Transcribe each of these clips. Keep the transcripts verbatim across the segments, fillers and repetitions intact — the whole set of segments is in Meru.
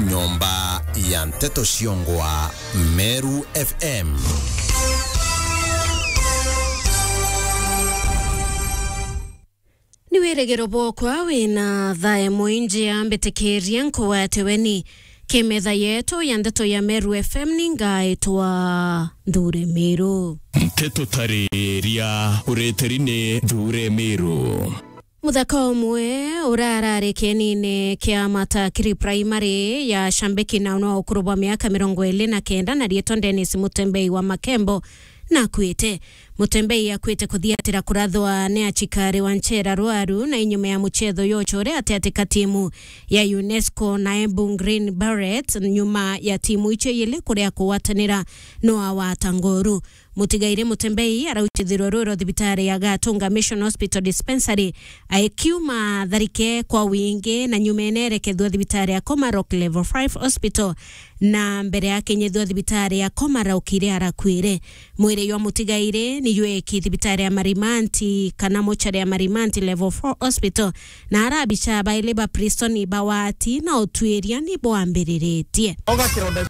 Nyomba ya nteto ciongwa Meru F M. Ni wirigiro bwokwa wina thae mwinji, ambitikiria nkugwate weni. Kimetha yetu ya ndeto ya Meru F M ni ngaitwa Nthure Miru. Nteto tariria uritiri ni Nthure Miru. Muthaka umwe urarari kienine kia Matakiri Primary ya Shambiki na no ukuru bwa miaka mirongo iri na kenda na riitwa Dennis Mutembei wa Makembo nakuite. Mutembei akuite kuthiatira kurathwa ni achikari wa nchera rwaru na inyuma ya muchetho yocho uria atiatika timu ya UNESCO na Embu Green Berets, nyuma ya timu icio ili kuria kugwatanira no awata ngoru. Mutigairi Mutembei arauchithirwe rwiro thibitari ya Gatunga Mission Hospital Dispensary, aikiuma tharike kwa wingi na nyuma enerekethua thibitari ya Komarock Level five Hospital, na mbere akinyithua thibitari ya Komarock iria arakuire. Mwiri jwa mutigairi ni jweki thibitari ya Marimanti kana mochari ya Marimanti Level four Hospital, na arabicha baili ba prison bawati na utwiria ni bwambiriritie. Oga kironda.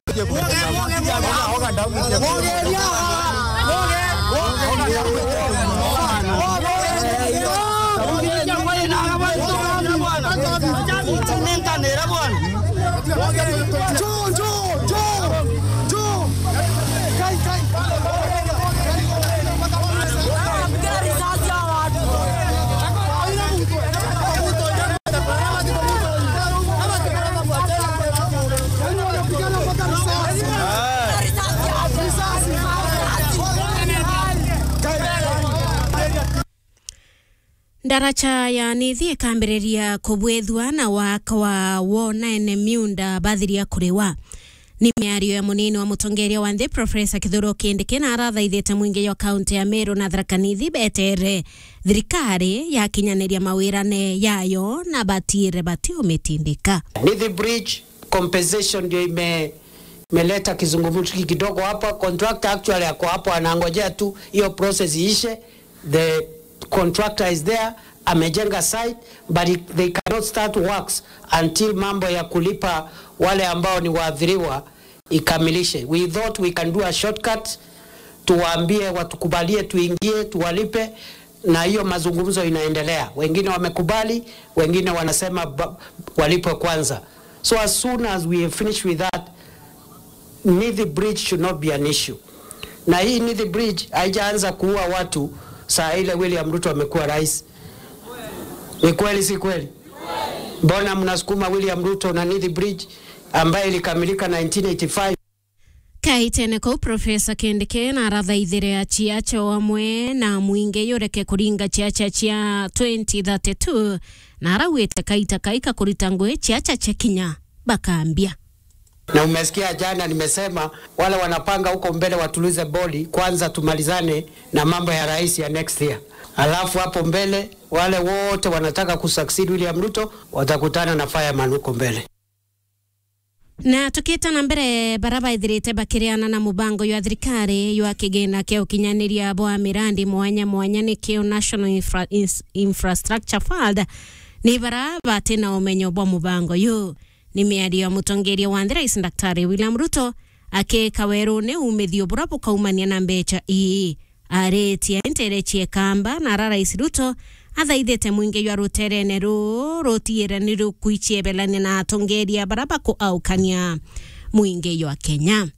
Ndaracha ya Nithi ikambiriria kubwithua na waka wa wona ene miunda bathiria kuriwa. Ni miario ya munini wa mutongeria wa nthi, Profesa Kithure Kindiki, na arathaithite mwingi jwa kaunti ya Meru na Tharaka Nithi betere thirikari yakinyaniria mawirane yayo na batiire batiumitindika. Nithi Bridge compensation ndio ime-, imeleta kizungumkuti kidogo hapa. Contractor actually ako hapo anangojea tu hiyo process iishe. The contractor is there, amejenga site, but he, they cannot start works until mambo ya kulipa wale ambao ni waathiriwa ikamilishe. We thought we can do a shortcut, tuwaambie watukubalie tuingie, tuwalipe, na hiyo mazungumzo inaendelea. Wengine wamekubali, wengine wanasema ba-, walipwe kwanza. So as soon as we finish with that, Nithi Bridge should not be an issue. Na hii Nithi Bridge haijaanza kuua watu saa ile William Ruto amekuwa rais. Ni kweli, si kweli? Mbona mnasukuma William Ruto na Nithi Bridge ambayo ilikamilika nineteen eighty-five? Kaitene kau, Profesa Kindiki na arathaithire aciacha o amwe na mwingi yureke kuringa ciacha cia twenty thirty-two, na arauite kaita kaika kurita ngugi ciacha cia kinya bakambia. Na umesikia jana nimesema wale wanapanga huko mbele watulize boli kwanza, tumalizane na mambo ya rais ya next year. Alafu hapo mbele wale wote wanataka kusucceed William Ruto watakutana na fireman huko mbele. Na tukita na mbere, bara baithirite bakiriana na mubango jwa thirikari jwa kigina kia ukinyaniria bwa mirandi mwanya mwanya, nikio National Infra-, Ins-, Infrastructure Fund, ni bara bati na umenyo bwa mubango yu. Ni miario ya mutongeria wa nthi, Rais Daktari William Ruto, akiika werune umithio bura bukaumania na mbecha ii. Aritie ntere ciekamba, na ara Rais Ruto athaithite mwingi jwa ruterene ruu rutiire ni rukwichiebelania na atongeria bara bakuaukania mwingi jwa Kenya.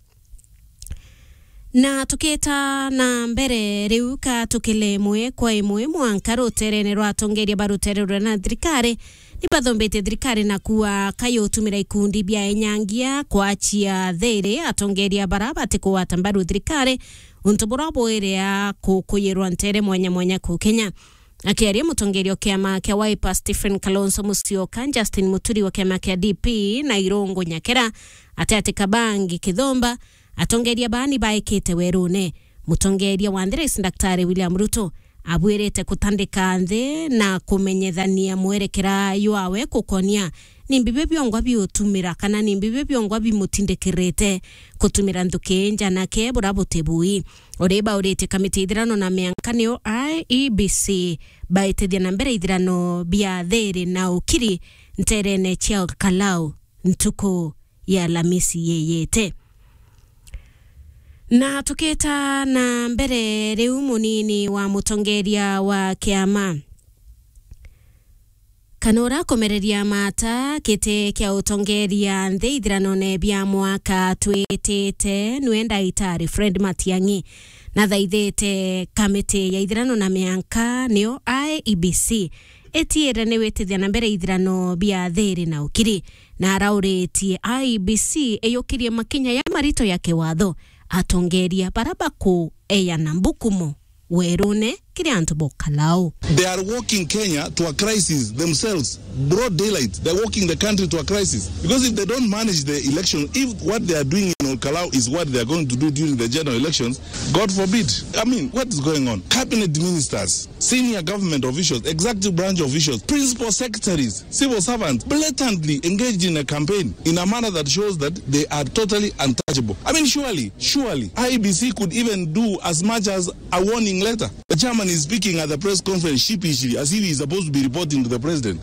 Na tukita na mbere riu, ka tukile imwe kwa imwe mwanka ruterene rwa atongeria ba rutere ruria na thirikari, ni bathombetie thirikari na kuuga kayutumira ikundi bia enyangia kwachia thiri atongeria bara batikugwata mbaru thirikari, untu buria bwiria kukuyirwa ntere mwanya mwanya kuu Kenya. Akiaria mutongeria wa kiama kia Wiper Stephen Kalonzo Musyoka, Justin Muturi wa kiama kia D P na Irungu Nyakera, Ateti Kabangi Kithumba, atongeria baa ni baikite werune. Mutongeria wa nthi Rais Daktari William Ruto abwirite kutandika nthi na kumenyethania mwerekera jwawe kukonia ni mbibi biongwa biutumira kana ni mbibi biongwa bimutindikirite kutumira nthuki njanake bura buti bui. Uri bauritie kamiti ithirano na mianka niyo I E B C baitithia na mbere ithirano bia thiri na ukiri nterene cia Kalau ntuku ya Alamisi yeyete. Na tukita na mbere, riu munini wa mutongeria wa kiama kana uria akumereria mata giti kia utongeria nthi ithiranone bia mwaka twitite niwe Ndagitari Fred Matiang'i, na thaithite kamiti ya ithirano na mianka, niyo I E B C, itiire ni witithia na mbere ithirano bia thiri na ukiri, na arauritie I E B C iyukirie makinya ya marito ya kiwatho, atongeria bara bakueyana mbukumo werune kiri antu ba Ukalau. They are walking Kenya to a crisis themselves. Broad daylight. They're walking the country to a crisis. Because if they don't manage the election, if what they are doing in Ukalau is what they are going to do during the general elections, God forbid. I mean, what is going on? Cabinet ministers, senior government officials, executive branch officials, principal secretaries, civil servants blatantly engaged in a campaign in a manner that shows that they are totally untouchable. I mean, surely, surely, I E B C could even do as much as a warning letter. The chairman is speaking at the press conference sheepishly as if he's supposed to be reporting to the president.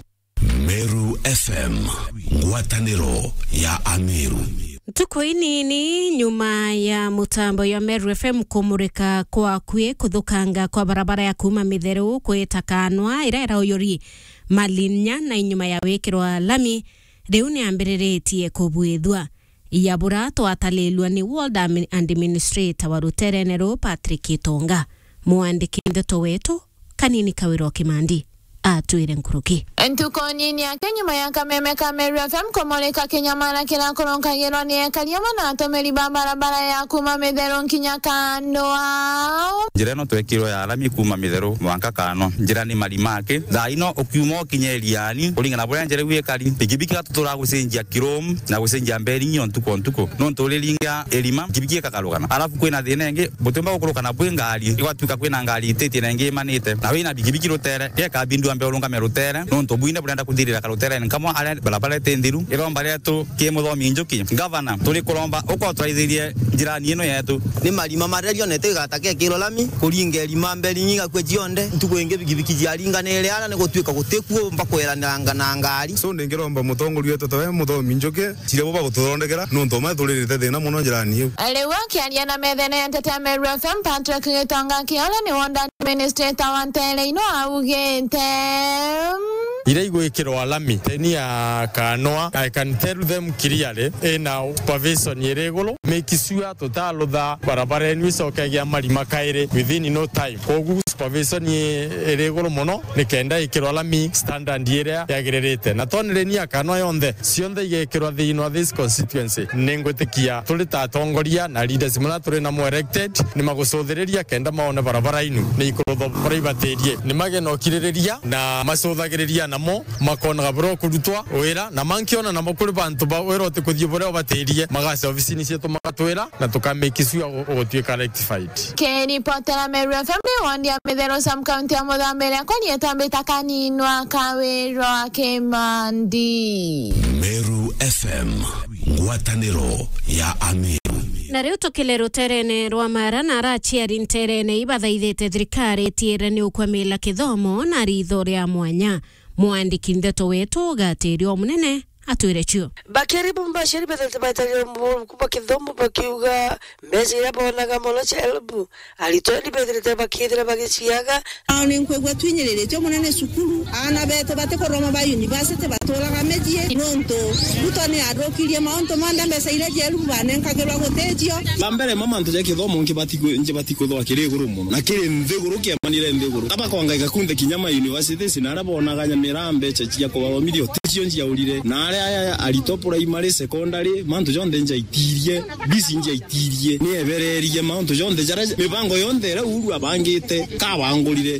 Meru F M, ngwataniro ya Ameru. Ntuku inini nyuma ya mutambo ya Meru F M kumurika kwa kwi kuthukanga kwa barabara ya kuuma Mitheru kwita Kanwa, iria irauyuri Malinya na inyuma ya wikirwa lami, riu niambiriritie kubwithua. Yabura twatalilua ni Ward Admi-, Administrator wa ruterene ruu, Patrick Itonga. Mwandiki ndeto wetu, Kanini Kawira o Kimandi, atwire nkuruki. Ntuku nini yake nyuma ya kameme ka Meru F M kumurika kinyamara kiria kurunkagirwa ni ekari amwe na atumiri ba barabara ya kuuma Mitheru nkinya Kanwa. Njira ino twekirwe ya lami kuuma Mitheru mwanka Kanwa. Njira ni marima aki. Thaa ino ukiuma ukinye Iriani, kuringana na buria njira iu ikari, pikipiki gatuturaga gucenjia Kirum na gucenjia Mberingi o ntuku o ntuku. Nontu uriringa irima, pikipiki ikakarukana. Alafu kwina thina ingi, butiumba gukurukana bwi ngari, igwatuika kwina ngari ititie na ingi imanite. Na wina pikipiki rutere, gekabindi wambe urungame rutere, nontu bwine burenda kuthirira karuterene kamwe aria barabara iti nthiru. Iromba rietu ki Muthomi Njuki, Gavana, turi kuromba ukotoraithirie njirani ino yetu. Ni marima maria rionete igataka ikirwa lami, kuringa irima Mberingi igakua cionthe. Ntuku ingi pikipiki ciaringanire ara ni gutuika gutikuo mba kweraniranga na ngari. So, ndingiromba mutongoria wetu tawe Muthomi Njuki, ciria bo bagututhondekera, nontu ma turirite thina mono njirani iu. Riu akiaria na methene ya nteto ya Meru F M, Patrick Gitonga Kiole ni Ward Administrator wa ntere ino augite, iria igwikirwa lami teni ya Kanwa, I can tell them clearly, ina supervision iri iguru, make sure tutalutha barabara enu icoke gia marima kairi within no time. Koguo supervision i-, iri iguru mono, nikenda ikirwa lami standard iria yagiririte. Na tonire ni ya Kanwa yonthe, cionthe igekirwa thiini wa this constituency. Ningwitikia turi ta atongoria na leaders muna turi namo elected, ni magucuthiriria kenda maone barabara inu ni ikurutha barabara ibatirie. Ni mage na ukiririria na macuthagiriria namo, makonaga buria ukurutwa wira, na mankiona namo kuri bantu ba wira utikuthii buria ubatirie, magaca obisini cietu magatwira, na tukamake sure u-, ugutuika rectified. Kiripotera Meru F M ni ward ya Mitheru sub county ya Muthambiria, kwa rietwa mbita Kaninwa Kawirwa Kimandi. Meru F M, ngwataniro ya Ameru. Na riu tukile ruterene rwa Mara, na araciari nterene ibathaithite thirikari itiire ni ukwamila kithomo na ritho ria mwanya. Mwandiki ndeto wetu Gatiri o Munene atwire cio. Bakiri bumba aciari bethaite baitagira mubuku bwa kithomo bakiuga mbeca iria bonaga mono cia help, aritwa ni bethirite bakithira bagiciaga. Ao ni nkwigua twinyiriritio munene cukuru, aana betu batikuroma ba university baturaga micii, nontu Ruto ni athukirie mauntu monthe, mbeca iria cia help banenkagirwa guticio. Ba mbere ma mantu ja kithomo nkibati ku-, nkibati kuthwa kiri iguru muno, na kiri nthiguru, kiamanire nthiguru. Aba kwangaika kunthe kinya ma universities, na aria bonaga nyamira mbeca cia kubathomithia uticio njiaurire, na aria aya aritwa primary, secondary, mantu jonthe njaitirie, bisi njaitirie, ni ebererie mantu jonthe jaria, mibango yonthe iria Uhuru abangite, kabangurire,